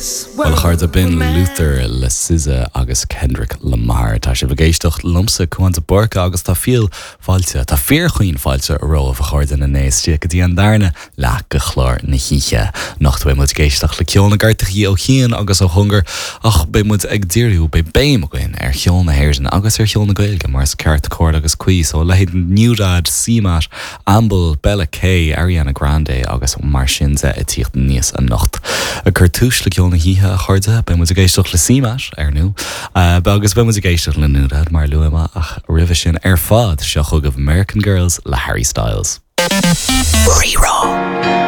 Bhuel, a chairde, b'in Luther le SZA agus Kendrick Lamar. Tá sibh ag éisteacht liomsa, Cúán de Búrca, agus tá fial fáilte, tá fíorchaoin fáilte romhaibh, a chairde na né istigh go dtí an darna leath de chlár na hoíche. Anocht beidh muid ag éisteacht le ceol na gcairteachaí ó chian agus ó chóngar, ach beidh muid ag díriú, beidh béim againn ar cheol na hÉireann agus ar cheol na Gaeilge, mar is ceart, cóir agus cuí. So, a leithéid NewDad, CMAT, Amble, Bella K, Ariana Grande agus mar sin de ag tíocht aníos anocht. Ag cur túis le ceol na hoíche, a chairde, beidh muid ag éisteacht le CMAT, ar ndú, agus beidh muid ag éisteacht le NewDad, mar a luaigh mé, ach roimhe sin ar fad, seo chugaibh American Girls le Harry Styles. Rí-Rá.